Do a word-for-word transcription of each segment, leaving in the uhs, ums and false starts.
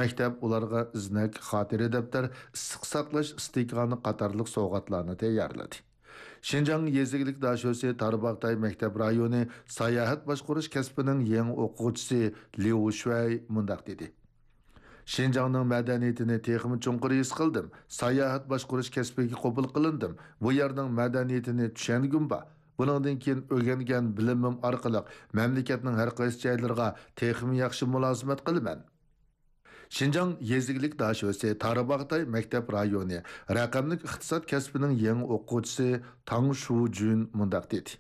مەكتەپ ئۇلارغا ئىزنەك، خاتىرە دەپتەر، ئىسسىق ساقلاش ئىستىكانى قاتارلىق سوۋغاتلارنى تەييارلىدى. شىنجاڭ يېزا ئىگىلىك داشۆسى تارباغتاي مەكتەپ رايونى ساياھەت باشقۇرۇش كەسپىنىڭ يېڭى ئوقۇغۇچىسى ليۇ شۈەي مۇنداق دېدى: شىنجاڭنىڭ مەدەنىيىتىنى تېخىمۇ چوڭقۇر ھېس قىلدىم. ساياھەت باشقۇرۇش كەسپىگە قوبۇل قىلىندىم. بۇ يەرنىڭ مەدەنىيىتىنى چۈشەنگۈم بار. بۇنىڭدىن كېيىن ئۆگەنگەن بىلىمىم ئارقىلىق مەملىكەتنىڭ ھەر قايسى جايلىرىغا تېخىمۇ ياخشى مۇلازىمەت قىلىمەن. شىنجاڭ يېزا ئىگىلىك داشۆسى تارباغتاي مەكتەپ رايونى رەقەملىك ئىقتىساد كەسپىنىڭ يېڭى ئوقۇغۇچىسى تاڭ شۇجۈن مۇنداق دېدى: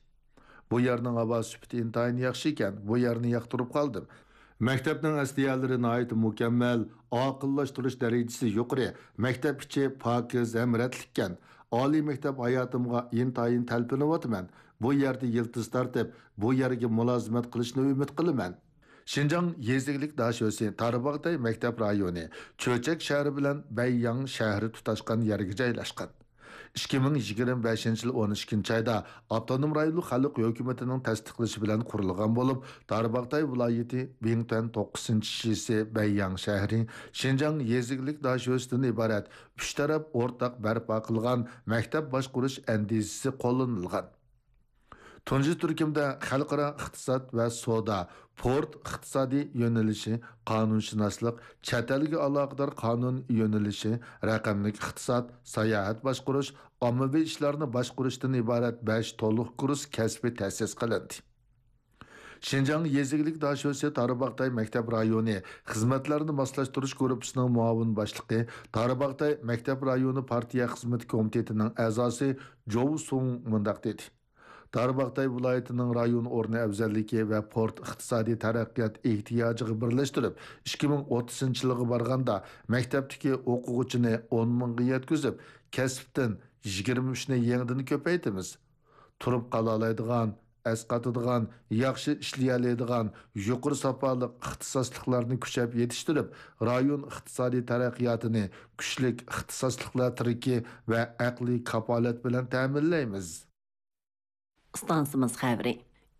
بۇ يەرنىڭ ھاۋا سۈپىتى ئىنتايىن ياخشى ئىكەن، بۇ يەرنى ياقتۇرۇپ قالدىم. مەكتەپنىڭ ئەسلىھەلىرى ناھايىتى مۇكەممەل، ئاقىللاشتۇرۇش دەرىجىسى يۇقىرى، مەكتەپ ئىچى پاكىز ھەم رەتلىككەن. ئالىي مەكتەپ ھاياتىمغا ئىنتايىن تەلپۈنۈۋاتىمەن. بۇ يەردە يىلتىز تارتىپ، بۇ يەرگە مۇلازىمەت قىلىشنى ئۈمىد قىلىمەن. شىنجاڭ يېزا ئىگىلىك داشۆسى تارباغتاي مەكتەپ رايونى چۆچەك شەھىرى بىلەن بەيياڭ شەھىرى تۇتاشقان يەرگە جايلاشقان. ئىككى مىڭ يىگىرمە بەشىنچى يىل ئون ئىككىنچى ئايدا ئاپتونوم رايونلۇق خەلق ھۆكۈمىتىنىڭ تەستىقلىشى بىلەن قۇرۇلغان بولۇپ، تارباغتاي ۋىلايىتى بىڭتۈەن توققۇزىنچى شىسى بەيياڭ شەھىرى شىنجاڭ يېزا ئىگىلىك داشۆسىدىن ئىبارەت ئۈچ تەرەپ ئورتاق بەرپا قىلغان مەكتەپ باشقۇرۇش ئەندىزىسى قوللىنىلغان. تۇنجى تۈركۈمدە خەلقئارا ئىقتىساد ۋە سودا، پورت ئىقتىسادىي يۆنىلىشى، قانۇنشۇناسلىق، چەت ئەلگە ئالاقىدار قانۇن يۆنىلىشى، رەقەملىك ئىقتىساد، ساياھەت باشقۇرۇش، ئاممىۋى ئىشلارنى باشقۇرۇشتىن ئىبارەت بەش تولۇق كۇرس كەسپى تەسىس قىلىندى. شىنجاڭ يېزا ئىگىلىك داشۆسى تارباغتاي مەكتەپ رايونى خىزمەتلەرنى ماسلاشتۇرۇش گۇرۇپپىسىنىڭ مۇئاۋىن باشلىقى، تارباغتاي مەكتەپ رايونى پارتىيە خىزمىتى كومىتېتىنىڭ ئەزاسى جوۋ سۇڭ مۇنداق دېدى: تارباغتاي ۋىلايىتىنىڭ رايون ئورنى ئەۋزەللىكى ۋە پورت ئىقتىسادىي تەرەققىيات ئېھتىياجىغا بىرلەشتۈرۈپ، ئىككى مىڭ ئوتتۇزىنچى يىلغا بارغاندا، مەكتەپتىكى ئوقۇغۇچىنى ئون مىڭغا يەتكۈزۈپ، كەسىپتىن يىگىرمە ئۈچنى يېڭىدىن كۆپەيتىمىز. تۇرۇپ قالالايدىغان، ئەسقاتىدىغان، ياخشى ئىشلىيەلەيدىغان، يۇقىرى ساپالىق ئىختىساسلىقلارنى كۈچەپ يېتىشتۈرۈپ، رايون ئىقتىسادىي تەرەققىياتىنى كۈچلۈك ئىختىساسلىقلار تىرىكى ۋە ئەقلىي كاپالەت بىلەن تەمىنلەيمىز. ئىستانسىمىز خەۋىرى.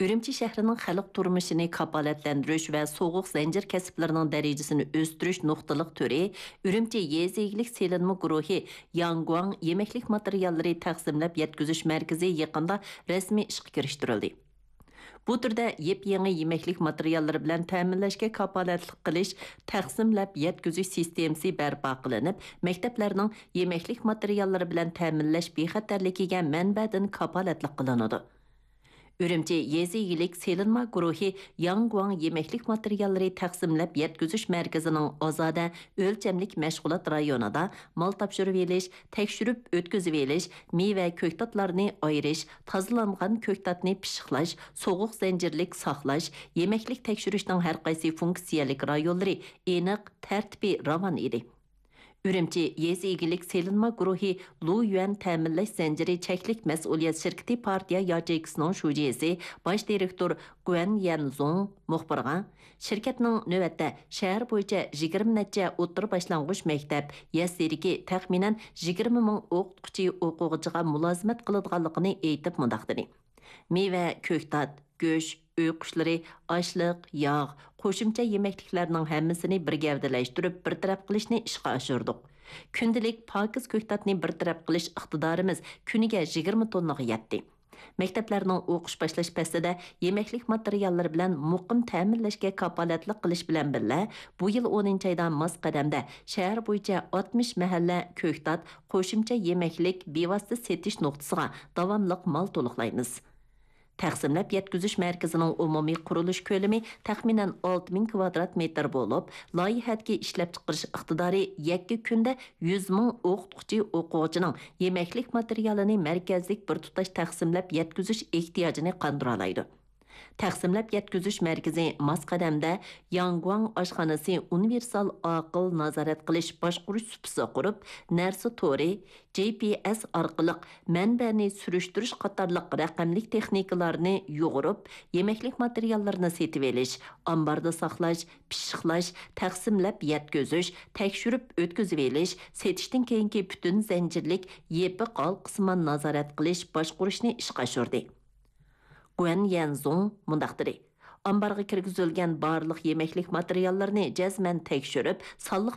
ئۈرۈمچى شەھىرىنىڭ خەلق تۇرمۇشىنى كاپالەتلەندۈرۈش ۋە سوغۇق زەنجىر كەسىپلىرىنىڭ دەرىجىسىنى ئۆستۈرۈش نۇقتىلىق تۈرى، ئۈرۈمچى يېزا ئىگىلىك سېلىنما گۇرۇھى ياڭگۇاڭ يېمەكلىك ماتېرىياللىرى تەقسىملەپ يەتكۈزۈش مەركىزى يېقىندا رەسمىي ئىشقا كىرىشتۈرۈلدى. بۇ تۈردە يېپيېڭى يېمەكلىك ماتېرىياللىرى بىلەن تەمىنلەشكە كاپالەتلىك قىلىش، تەقسىملەپ يەتكۈزۈش سىستېمىسى بەرپا قىلىنىپ، مەكتەپلەرنىڭ يېمەكلىك ماتېرىياللىرى بىلەن تەمىنلەش بىخەتەرلىكىگە مەنبەدىن كاپالەتلىك قىلىنىدۇ. ئۈرۈمچى يېزا ئىگىلىك سېلىنما گۇرۇھى ياڭگۇاڭ يېمەكلىك ماتېرىياللىرى تەقسىملەپ يەتكۈزۈش مەركىزىنىڭ ئازادە ئۆلچەملىك مەشغۇلات رايونىدا مال تاپشۇرۇۋېلىش، تەكشۈرۈپ ئۆتكۈزۈۋېلىش، مېۋە، كۆكتاتلارنى ئايرىش، تازىلانغان كۆكتاتنى پىششىقلاش، سوغۇق زەنجىرلىك ساقلاش، يېمەكلىك تەكشۈرۈشنىڭ ھەرقايسى فۇنكسىيەلىك رايونلىرى ئېنىق، تەرتىپى راۋان ئىدى. ئۈرۈمچى يېزا ئىگىلىك سېلىنما گۇرۇھى لۇيۈەن تەمىنلەش زەنجىرى چەكلىك مەسئۇلىيەت شىركىتى پارتىيە ياچېيكىسىنىڭ شۇجىسى، باش دىرېكتور گۇەن يەنزۇڭ مۇخبىرغا، شىركەتنىڭ نۆۋەتتە شەھەر بويىچە يىگىرمە نەچچە ئوتتۇرا باشلانغۇچ مەكتەپ يەسلىدىكى تەخمىنەن يىگىرمە مىڭ ئوقۇتقۇچى ئوقۇغۇچىغا مۇلازىمەت قىلىدىغانلىقىنى ئېيتىپ مۇنداق دېدى: مېۋە، كۆكتات، گۆش، ئۆي قۇشلىرى، ئاشلىق، ياغ، قوشۇمچە يېمەكلىكلەرنىڭ ھەممىسىنى بىر گەۋدىلەشتۈرۈپ بىر تەرەپ قىلىشنى ئىشقا ئاشۇردۇق. كۈندىلىك پاكىز كۆكتاتنى بىر تەرەپ قىلىش ئىقتىدارىمىز كۈنىگە يىگىرمە توننىغا يەتتى. مەكتەپلەرنىڭ ئوقۇش باشلاش پەسلىدە يېمەكلىك ماتېرىياللىرى بىلەن مۇقىم تەمىنلەشكە كاپالەتلىك قىلىش بىلەن بىللە، بۇ يىل ئونىنچى ئايدا ماس قەدەمدە شەھەر بويىچە ئاتمىش مەھەللە كۆكتات، قوشۇمچە يېمەكلىك بىۋاسىتە سېتىش نۇقتىسىغا داۋاملىق مال تولۇقلايمىز. تەقسىملەپ يەتكۈزۈش مەركىزىنىڭ ئومۇمىي قۇرۇلۇش كۆلىمى تەخمىنەن ئالتە مىڭ كىۋادرات مېتىر بولۇپ، لايىھەدىكى ئىشلەپچىقىرىش ئىقتىدارى يەككە كۈندە يۈز مىڭ ئوقۇتقۇچى ئوقۇغۇچىنىڭ يېمەكلىك ماتېرىيالىنى مەركەزلىك بىر تۇتاش تەقسىملەپ يەتكۈزۈش ئېھتىياجىنى قاندۇرالايدۇ. تەقسىملەپ يەتكۈزۈش مەركىزى ماس قەدەمدە ياڭگۇاڭ ئاشخانىسى ئۇنىۋېرسال ئاقىل نازارەت قىلىش باشقۇرۇش سۇپىسى قۇرۇپ، نەرسە تورى، جى پى ئېس ئارقىلىق مەنبەنى سۈرۈشتۈرۈش قاتارلىق رەقەملىك تېخنىكىلارنى يۇغۇرۇپ، يېمەكلىك ماتېرىياللىرىنى سېتىۋېلىش، ئامباردا ساقلاش، پىششىقلاش، تەقسىملەپ يەتكۈزۈش، تەكشۈرۈپ ئۆتكۈزۈۋېلىش، سېتىشتىن كېيىنكى پۈتۈن زەنجىرلىك يېپىق ھالقىسىمان نازارەت قىلىش باشقۇرۇشنى ئىشقا ئاشۇردى. گۇەن يەنزۇڭ مۇنداق دېدى: ئامبارغا كىرگۈزۈلگەن بارلىق يېمەكلىك ماتېرىياللىرىنى جەزمەن تەكشۈرۈپ، سانلىق